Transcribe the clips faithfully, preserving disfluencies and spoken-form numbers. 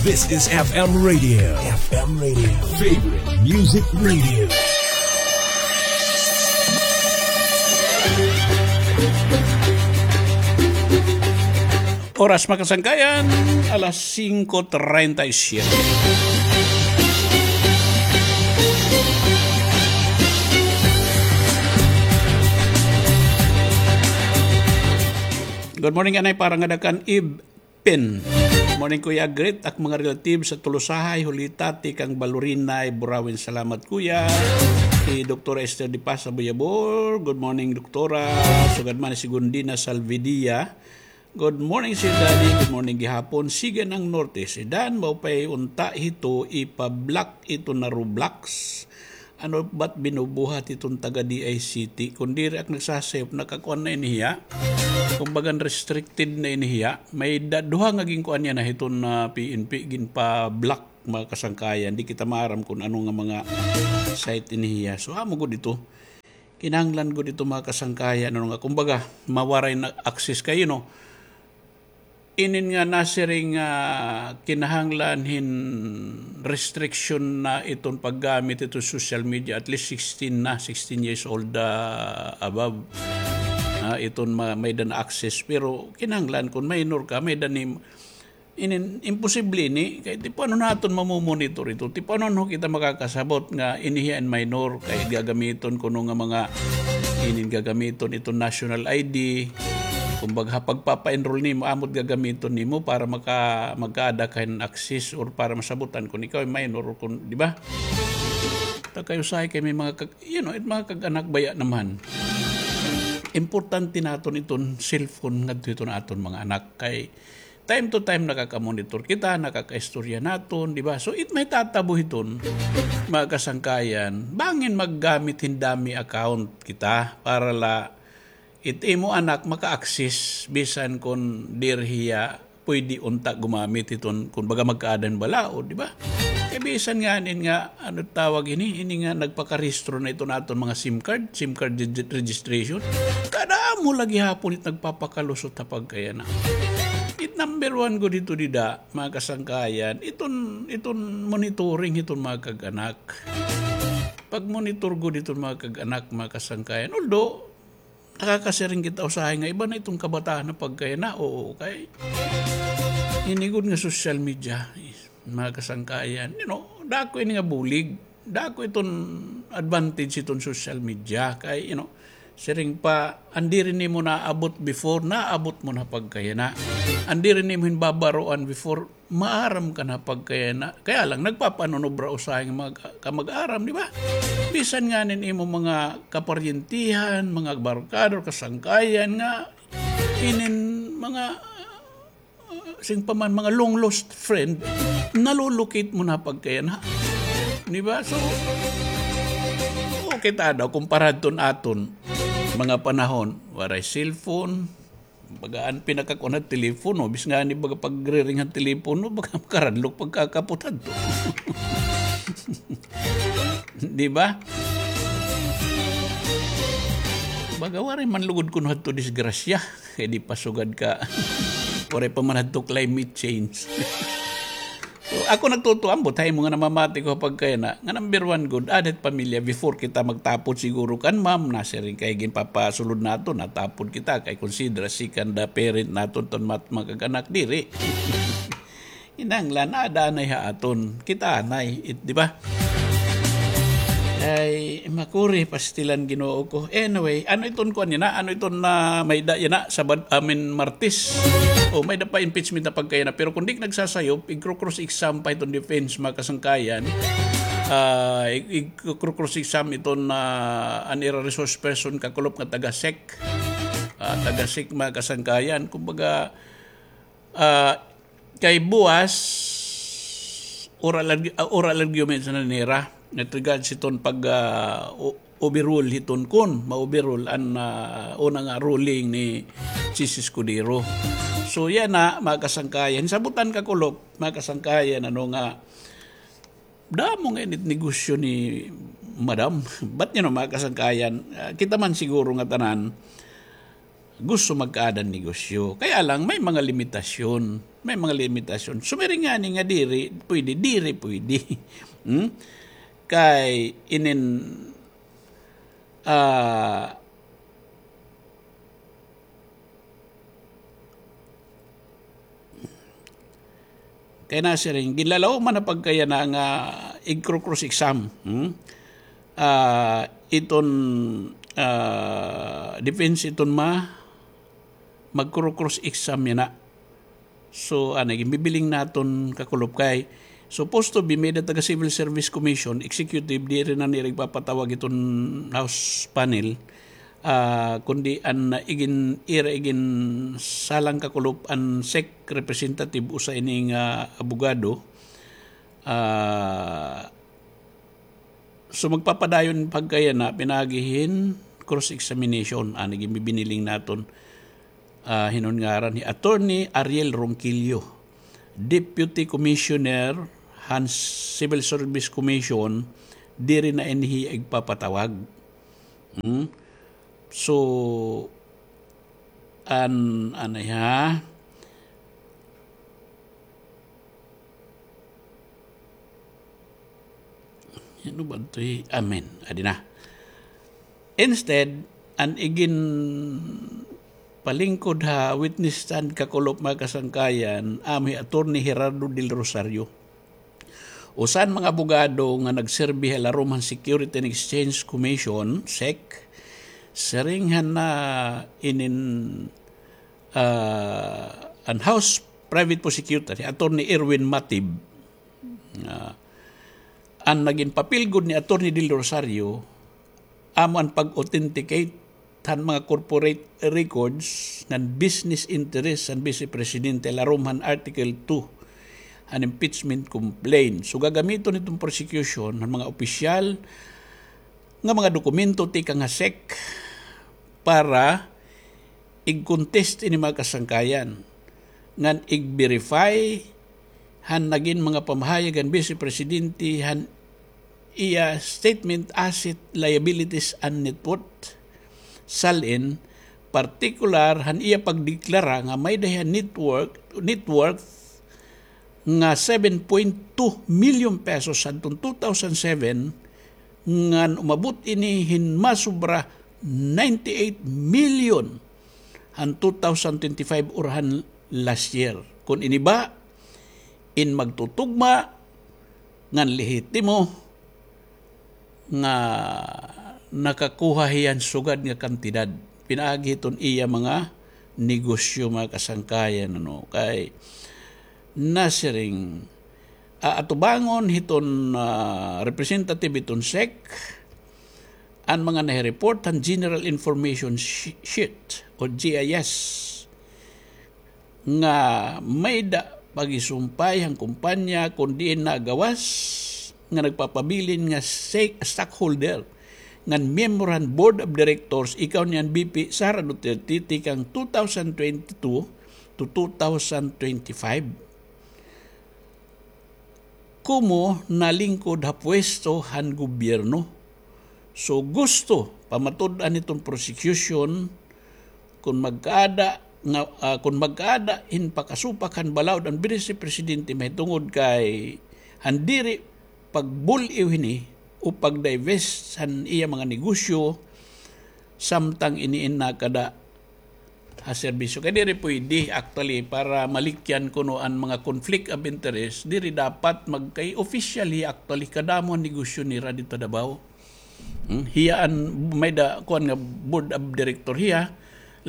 This is F M Radio. F M Radio. Favorite Music Radio. Oras, mga kasangkayan, alas singko treinta y siete. Good morning, anay, para ngada kan Ib Pin. Morning, Kuya. Greet ak mga relatives sa Tolosahay, Hulita, tikang Balurinay, Burauen. Salamat, Kuya. Si Doktora Esther Di Paz, Abuyabor. Good morning, Doktora. Sugad man si Gundina Salvidia. Good morning, Sir Daddy. Good morning gihapon. Siga ng Norte. Si Dan, maupay unta hito, ipa-block ito na Roblox. Ano ba't binubuhat iton taga D I C T? Kun diri ak nagsasayop, nakakuan na ini hiya. Kumbaga, restricted na ini hiya. May da-, duha nga ginkuan niya na hiton na P N P, ginpa-block, mga kasangkayan. Di kita maaram kun ano nga mga site ini hiya. So, amo gud ito. Kinahanglan gud ito, mga kasangkayan, ano nga, kumbaga, mawaray na access kayo, no? Inin nga nasiring nga kinahanglan hin restriction na iton paggamit iton social media, at least sixteen na, sixteen years old, ah, above. Ah, iton ma-, may-ada na access, pero kinahanglan kun minor ka, may-ada ni, inin, imposible ini, kay ti paano naton mamomonitor ito? Ti paano kita makakasabot nga ini hiya in minor, kay gagamiton kuno nga mga, inin gagamiton iton national I D, Kumbaga, ha pagpapa-enroll nimo, amo it gagamiton nimo para maka-, magkaada ka hin access or para masabutan kun ikaw ay minor or kun, di ba? Ta kay usahay kay may mga kag-, you know, it mga kag-anak baya naman. Importante naton iton cellphone ngadto hiton aton mga anak kay time to time nakaka-monitor kita, nakakaistorya naton, di ba? So, it may tatabo hiton, mga kasangkayan, bangin maggamit hin dummy account kita para la It imo anak maka-access bisan kon diri hiya pwede unta gumamit hiton, kon baga magkaada hin balaod, di ba? Kay bisan nganin nga, ano tawag ini, ini nga nagpakarehistro na iton aton mga SIM card, SIM card regi-, registration. Kada amo la gihapon it nagpapakalusot ha pagkayana. It number one gud hito dida, mga kasangkayan, iton, iton monitoring hiton mga kag-anak. Pag-monitor gud hiton mga kag-anak, mga kasangkayan. Although, Nakakasiring kita usahay nga iba na iton kabataan na pagkayana, oo, kay ini gud nga social media, mga kasangkayan, you know, dako ini nga bulig, dako iton advantage iton social media, kay, you know, siring pa, an diri nimo naabot before, naabot mo na pagkayana. An diri nimo hin babaroan before, maaram ka na pagkayana. Kaya lang, nagpapanunobra usahay nga mga ka-, kamag-aram, di ba? Bisan nganin imo mga kaparyentihan, mga barkada, kasangkayan nga, inin mga, uh, sing pa man, mga long lost friend, nalulukit mo na pagkayana. Di ba? So, okay ta daw, kumpara adton aton mga panahon, waray cellphone, Baga an pinakakuan han telepono, bis ngani baga pagriring han telepono, baga makaradlok pagkakapot hadto. Di ba? Baga waray man lugod kuno hadto disgrasya. Kay di pa sugad ka. Waray pa man hadto climate change. So, ako nagtutuambot ha imo nga namamati ko ha pagkayana, nga number one gud, ada it pamilya before kita magtapod siguro kan ma'am, nasiring kay ginpapasulod naton, natapod kita, kay consider as second, ah, parent naton ton mat-, mga kag-anak diri. Kinahanglan, ada anay ha aton, kita anay, it, di ba? Ay, makuri, pastilan, Ginoo ko. Anyway, ano iton kuan yana? Ano iton na may da yana? Sabad, I mean, Martes. O, may da pa impeachment na pagkayana. Pero kung di nagsasayop, igkro-cross exam pa iton defense, mga kasangkayan. Ah, ig-, igkro-cross exam iton na an ira resource person kakulop nga taga sec. Ah, taga sec, mga kasangkayan. Kumbaga, Ah, kay buwas, oral argu-, ah, oral argument na nira. With regards hiton pag, ah, o-, overrule hiton kun, ma-overrule an, ah, una nga ruling ni Chiz Escudero. So, yana, mga kasangkayan. Sabutan ka, Kulop, mga kasangkayan, ano nga, Damo nga ini it negosyo ni Madam. But, you know, mga kasangkayan, ah, kita man siguro nga tanan, gusto magkaada hin negosyo. Kaya lang, may mga limitasyon. May mga limitasyon. Sumiring ngani nga diri pwede, diri pwede. Hmm? Kay inin, ah, Kay nasiring, ginlalaw man na pagkayana nga igkro-cross exam. Hmm? Ah, iton, ah, defense iton ma, magkro-cross exam yana. So, ano, ginbibiling naton kakulop kay, supposed to be, may-ada taga Civil Service Commission, executive, diri na nira igpapatawag iton House panel. Ah, kundi an igin, ira igin salang kakulop an SEC representative usa ini nga abogado. Ah, so magpapadayon pagkayana pinaagi hin cross-examination, an igin bibiniling naton, ah, hinon ngaran hi Attorney Ariel Ronquillo, Deputy Commissioner han Civil Service Commission, diri na ini hiya igpapatawag. Hmm? So, an, ano ha? Ano ba ito eh? Amen. Adi na. Instead, an igin palingkod ha witness stand kakulop mga kasangkayan, amo hi Attorney Gerardo Del Rosario. Usa han mga abogado nga nagserbi ha larom han Security and Exchange Commission, SEC, siring han na inin, ah, an House Private Prosecutor, hi Attorney Erwin Matib. Ah, an nagin papel gud ni Attorney Del Rosario, amo an pag-authenticate han mga corporate records ngan business interest han Vice Presidente larom han Article two han impeachment complaint. So, gagamiton hiton prosecution han mga opisyal nga mga dokumento tikang ha SEC para ig-contest ini mga kasangkayan ngan ig-verify han nagin mga pamahayag han Vice Presidente han iya statement, asset, liabilities, and net worth. Salin, partikular han iya pagdeklara nga may-ada hiya net worth, net worth nga seven point two million pesos hadton two thousand seven, ngan umabot ini hin masobra ninety-eight million han two thousand twenty-five or han last year. Kon ini ba, in magtutugma ngan lehitimo nga nakakuha hiya hin sugad nga kantidad pinaagi hiton iya mga negosyo, mga kasangkayan, ano, kay nasiring, ah, atubangon hiton, ah, representative hiton SEC an mga nahireport han General Information Shi-, Sheet o G I S nga may-ada pagisumpay han kumpanya kon diin nagawas nga nagpapabilin nga sa-, stockholder ngan miyembro han Board of Directors, ikaw ni an V P Sara Duterte tikang two thousand twenty-two to two thousand twenty-five. Komo nalingkod ha puwesto han gobyerno. So, gusto pamatud-an hiton prosecution kon magkaada nga, ah, kon magkaada hin pakasupak han balaod an Vice Presidente mahitungod kay han diri pagbul-iw hini o pag-divest han iya mga negosyo samtang ini in nakada ha serbisyo. Kay diri pwede, actually, para malikyan kuno an mga conflict of interest, diri dapat magkay officially, actually, kadamo an negosyo nira didto ha Davao. Hmm? Hiya an may-ada, kuan nga board of director hiya.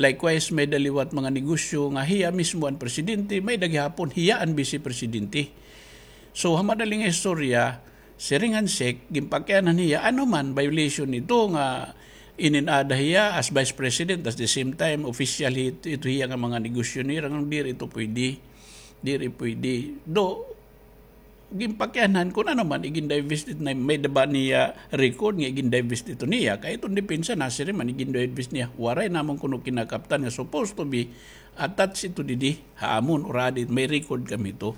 Likewise, may-ada liwat mga negosyo nga hiya mismo an presidente, may-ada gihapon hiya an vice presidente. So, ha madaling istorya, siring han SEC, ginpakianhan hiya, ano man, violation ito nga inin-ada hiya as vice president, at the same time, official hi-, ito hiya nga mga negosyo nira, nga diri ito pwede. Diri pwede. Do, ginpakianhan kon ano man, igin-divest it na, may-ada ba niya record nga igin-divest ito niya. Kay iton depensa, nasiring man, igin-divest niya. Waray namon kuno kinakaptan nga supposed to be attached ito didi, ha amon, or adi, may record kami ito.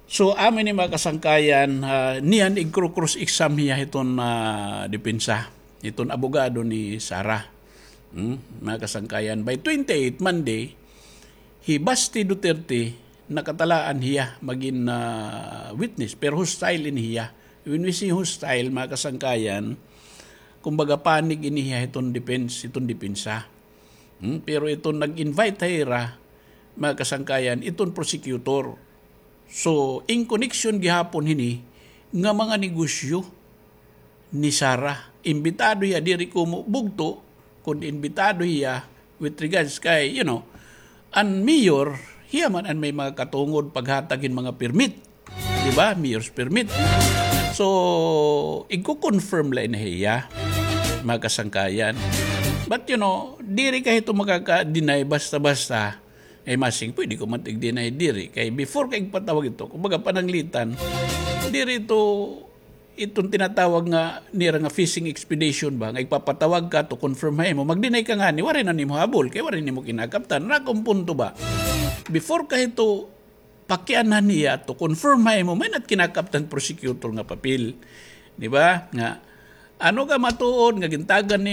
So, amo ini mga kasangkayan, ah, niyan igkro-cross exam hiya hiton, ah, depensa, hiton abogado ni Sara. Hmm? Mga kasangkayan, by twenty-eight, Monday, hi Basti Duterte, nakatalaan hiya magin, ah, witness, pero hostile ini hiya. When we say hostile, mga kasangkayan, kumbaga panig ini hiya hiton defense, hiton depensa. Hmm? Pero iton nag-invite ha ira, mga kasangkayan, iton prosecutor. So, in connection gihapon hini nga mga negosyo ni Sara. Imbitado hiya, diri komo bugto, kun imbitado hiya with regards kay, you know, an mayor, hiya man an may mga katungod paghatag hin mga permit. Di ba? Mayor's permit. So, igko-confirm la ini hiya, mga kasangkayan. But, you know, diri ka hito makaka-deny basta-basta. Eh, masing, pwede ko man tig-deny diri. Kay before ka igpatawag ito, kumbaga pananglitan, diri ito, iton tinatawag nga nira nga fishing expedition ba, nga igpapatawag ka to confirm ha imo, mag-deny ka ngani, waray na nimo habol, kay waray nimo kinakaptan. Ra akon punto ba, before ka hito pakianhan hiya to confirm ha imo, may-ada it kinakaptan prosecutor nga papel. Di ba? Nga, ano ka matuod nga gintagan nimo